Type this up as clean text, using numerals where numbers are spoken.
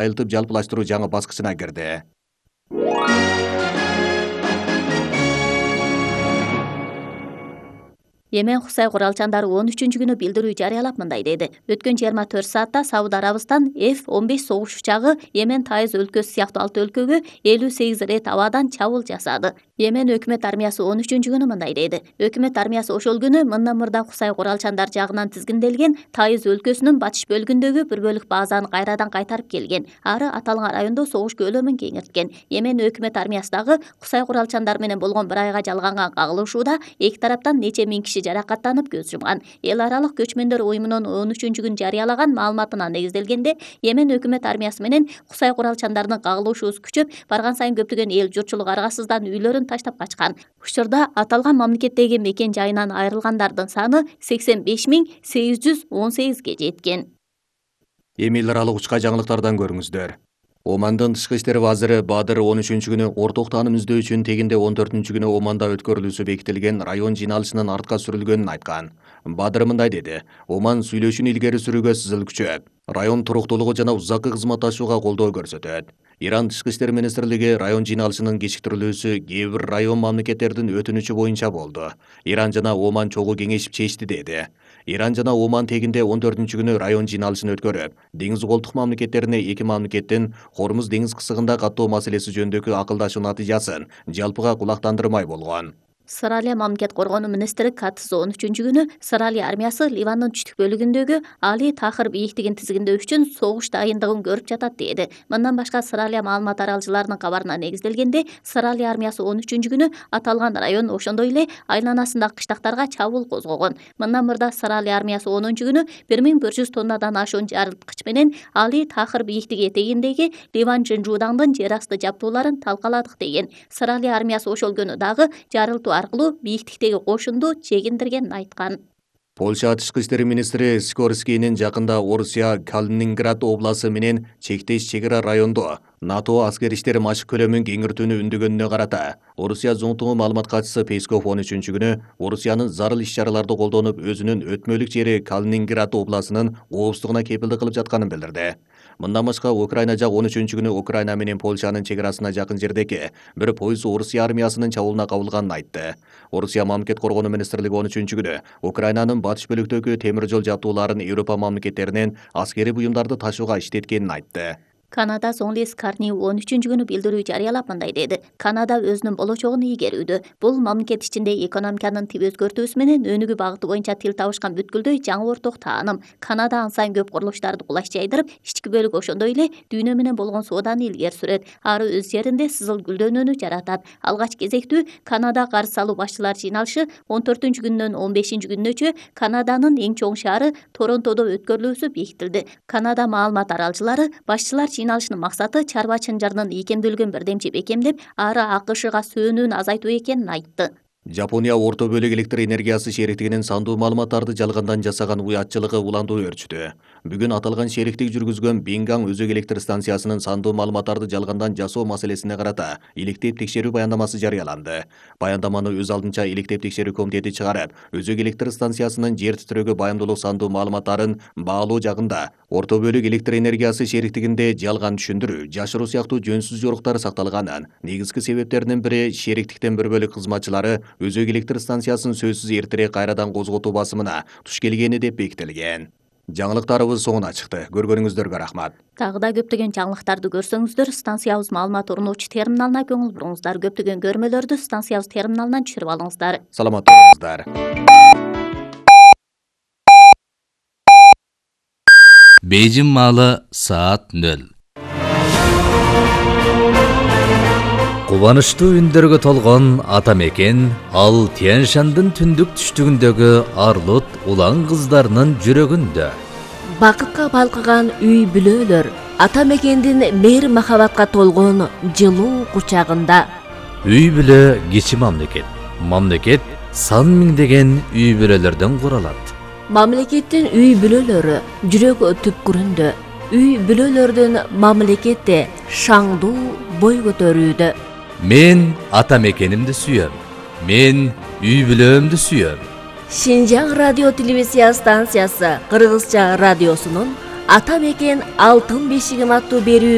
айылтып жалпылаштыруу жаңы баскычына кирди. Йемен Хусай куралчандары 13-күнү билдирүү жарыялап мындай деди. Өткөн 24 саатта Сауд Арабистан F-15 согуш учагы Йемен Тайыз өлкөсү сыяктуу 6 өлкөгө 58 рет абадан чабуул жасады. Йемен өкмөт армиясы 13-күнү мындай деди. Өкмөт армиясы ошол күнү мындан мурда Хусай куралчандар жагынан тизгинделген Тайыз өлкөсүнүн батыш бөлүгүндөгү бир бөлүк базаны кайрадан кайтарып келген. Ары аталган райондо согуш көлөмүн кеңирткен. Йемен өкмөт армиясы дагы Хусай куралчандар менен болгон бир айга жалганган кагылышууда эки тараптан нече миң киши жаракаттанып көз жумган. Эл аралык көчмөндөр уюмунун 13-күн жарыялаган маалыматына негизделгенде, Йемен өкмөт армиясы менен Хусай куралчандарынын кагылышуусу күчөп барган сайын көптөгөн эл журтчулук аргасыздан үйлөрүн таштап качкан. Учурда аталган мамлекеттеги мекен жайынан айрылгандардын саны 85.818ге жеткен. Эми эл аралык учка жаңылыктардан көрүңүздөр. Омандын тышкы иштер вазиры Бадыр 13-күнү орток тааным издөө үчүн тегинде 14-күнү Оманда өткөрүлүүсү бекитилген район жыйналышынын артка сүрүлгөнүн айткан. Бадыр мындай деди: Оман сүйлөшүүнү илгери сүрүүгө сызыл күчөп, район туруктуулугу жана узаккы кызматташууга колдоо көрсөтөт. Иран тышкы иштер министрлиги район жыйналышынын кечиктирилүүсү кээ бир район мамлекеттердин өтүнүчү боюнча болду. Иран жана Оман чогуу кеңешип чечти деди. Иран жана Оман тегинде 14-күнү район жыйналышын өткөрүп, деңиз колтук мамлекеттерине эки мамлекеттин Хормуз деңиз кысыгында каттоо маселеси жөнүндөгү акылдашуу натыйжасын жалпыга кулактандырмай болгон. Сыралия мамлекет коргонуу министри Катыс 13-күнү Сыралия армиясы Ливандын түштүк бөлүгүндөгү Али Тахыр бийиктигин тизгиндөө үчүн согуш дайындыгын көрүп жатат деди. Мындан башка Сыралия маалымат аралчыларынын кабарына негизделгенде, Сыралия армиясы 13-күнү аталган район ошондой эле айланасындагы кыштактарга чабуул козгогон. Мындан мурда Сыралия армиясы 10-күнү 1100 тоннадан ашуун жарылткыч менен Али Тахыр бийиктиги этегиндеги Ливан Жынжуудаңдын жер асты жабдууларын талкаладык деген. Сыралия армиясы ошол күнү дагы жарылтуу аркылуу бийиктиктеги кошунду чегиндиргенин айткан. Польша тышкы иштер министри Скорскийнин жакында Орусия Калининград обласы менен чектеш чегара райондо НАТО аскер иштери машык көлөмүн кеңиртүүнү үндөгөнүнө карата Орусия зоңтугу маалымат катчысы Песков 13-күнү Орусиянын зарыл иш-чараларды колдонуп өзүнүн өтмөлүк жери Калининград обласынын коопсуздугуна кепилдик кылып жатканын билдирди. Мындан башка Украина жак 13-күнү Украина менен Польшанын чегарасына жакын жердеги бир поезд Орусия армиясынын чабуулуна кабылганын айтты. Орусия мамлекет коргонуу министрлиги 13-күнү Украинанын батыш бөлүктөгү темир жол жабдууларын Европа мамлекеттеринен аскерий буюмдарды ташууга иштеткенин айтты. Канада Соңлис Карни 13-күнү билдирүү жарыялап мындай деди. Канада өзүнүн болочогун ийгерүүдө. Бул мамлекет ичинде экономиканын тип өзгөртүүсү менен өнүгүү багыты боюнча тил табышкан бүткүлдөй жаңы орток тааным. Канада ан сайын көп курулуштарды кулаш жайдырып, ички бөлүк ошондой эле дүйнө менен болгон сооданы илгери сүрөт. Ары өз жеринде сызыл гүлдөнүүнү жаратат. Алгач кезектүү Канада карыз салуу башчылар жыйналышы 14-күнүнөн 15-күнүнөчө Канаданын эң чоң шаары Торонтодо өткөрүлүүсү бекитилди. Канада маалымат аралчылары башчылар жыйналышынын максаты чарба чынжырынын ийкемдүүлүгүн бирдемчи бекемдеп, ары АКШга сөөнүүнү азайтуу экенин айтты. Жапония орто бөлүк электр энергиясы шериктигинин сандуу маалыматтарды жалгандан жасаган уятчылыгы уландуу өрчүдү. Бүгүн аталган шериктик жүргүзгөн Бингаң өзөк электр станциясынын сандуу маалыматтарды жалгандан жасоо маселесине карата иликтеп текшерүү баяндамасы жарыяланды. Баяндаманы өз алдынча иликтеп текшерүү комитети чыгарып, өзөк электр станциясынын жер титрөөгө баяндуулук сандуу маалыматтарын баалоо жагында орто бөлүк электр энергиясы шериктигинде жалган түшүндүрүү, жашыруу сыяктуу жөнсүз жоруктар сакталганын, негизги себептеринин бири шериктиктен бир бөлүк кызматчылары өзөк электр станциясын сөзсүз эртерээк кайрадан козготуу басымына туш келгени деп бекитилген. Жаңылыктарыбыз соңуна чыкты. Көргөнүңүздөргө рахмат. Дагы да көптөгөн жаңылыктарды көрсөңүздөр, станциябыз маалымат орнотуучу терминалына көңүл буруңуздар. Көптөгөн көрмөлөрдү станциябыз терминалынан түшүрүп алыңыздар. Саламатта болуңуздар. Бейжин маалы саат 0. Кубанычтуу үндөргө толгон ата мекен ал Тянь-Шандын түндүк түштүгүндөгү арлут улан кыздарынын жүрөгүндө. Бакытка балкыган үй бүлөлөр ата мекендин мээр махабатка толгон жылуу кучагында. Үй бүлө кичи мамлекет. Мамлекет сан миңдеген үй бүлөлөрдөн куралат. Мамлекеттин үй бүлөлөрү жүрөк түпкүрүндө. Үй бүлөлөрдүн мамлекетте шаңдуу бой көтөрүүдө. Мен ата мекенимди сүйөм. Мен үй бүлөмдү сүйөм. Шинжаң радио телевизия станциясы Кыргызча радиосунун Ата мекен алтын бешигим аттуу берүү